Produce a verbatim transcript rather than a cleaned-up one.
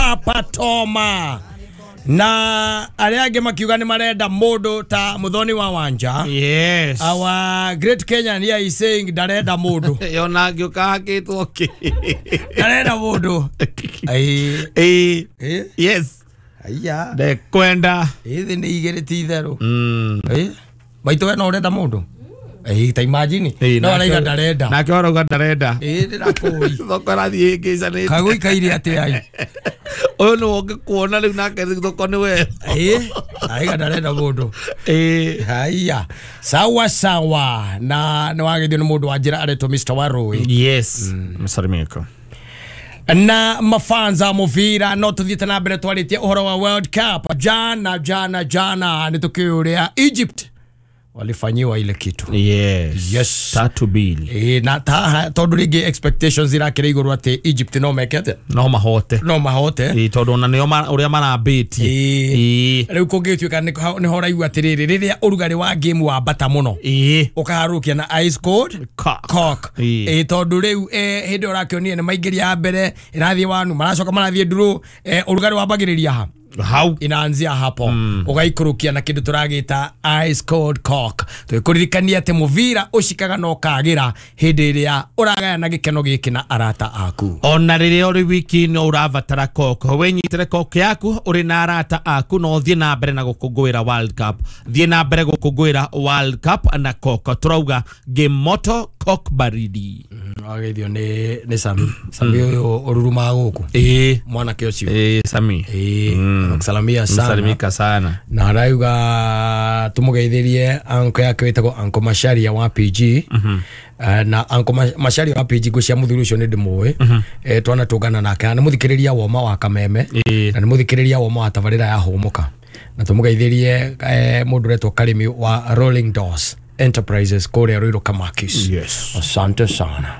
Papa Toma na arĩa angĩ makiuga nĩ marenda mũndũ ta Muthoni wa Wanja. Yes. Our great Kenyan here is saying ndarenda mũndũ. Yona ngĩũka hakĩtwo kĩ. Ndarenda mũndũ. Ai. Eh. Eh. Yes. Aya. Ndekwenda. Ithi nĩ igĩrĩ ti itherũ. Mm. Eh. Maitũ we no ũrenda mũndũ? Eh, ta imagine. Eh, No araiga ndarenda. Nake arauga ndarenda. Eh, ndĩrakũĩ. Thoko ĩrathiĩ ĩngĩcanĩte. Kagũikaire atĩa ai? Ũyũ nĩwe ũngĩkuona rĩu nake thoko nĩ we. Eh, araiga ndarenda mũndũ. Eh. Haya. Sawa sawa. Na nĩ wagethio nĩ mũndũ wa njĩra aretwo Mister Warui. Yes. Msalimiko. Na mafanza muvira no tuthiete na mbere twaritie uhoro wa World Cup jana jana jana nĩ tũkĩũria Egypt walifanyiwa ile kitu. Yes. Yes. Tatu bili. Eh, na ta tondu ringi expectations irakire iguru ati Egypt no mekete no mahote no mahote eh tondu ona nio uria marambĩtie eh riu kũngĩtuĩka nĩ ho raigua atĩrĩrĩ rĩrĩa ũrugarĩ wa game wambata mũno eh ũkaharũkia na ice cold cock eh tondu rĩu eh hĩndĩ ũrakĩonire nĩ maingĩria ya mbere ĩrathiĩ wanu maracoka marathiĩ nduru eh ũrugarĩ wambagĩrĩria ha hau inaanzia hapo mm. Ugaikurukia na kindu turagita ice cold cock twikuririkania ati muvira ucikaga no kagira hindi iria uragayana gikeno giki na arata aku ona riria uri wiki no urabatara cock winyitire cock yaku uri na arata aku no thie na mbere na gukungwira World Cup thie na mbere gukungwira World Cup na cock turauga game moto cock baridi ageithio ni ni Sami Sami uyu ururumaga guku eh mwanake ucio eh Sami eh kusalamia sana msalimika sana na arauga tumugeithirie anko yake witagwo Anko Macharia wa P G. Mm -hmm. Uh, na Anko Macharia wa P G ngucia muthuri ucio ni ndimũĩ. Mm -hmm. Eh, twana tungana nake na muthikiriria woma wa Kameme. E. Na muthikiriria woma wa tabarira ya Hũmũka na tumugeithirie eh, mundu uretwo Karimi wa Rolling Doors Enterprises kũrĩa Ruiru Kamakis. Yes. Asante sana.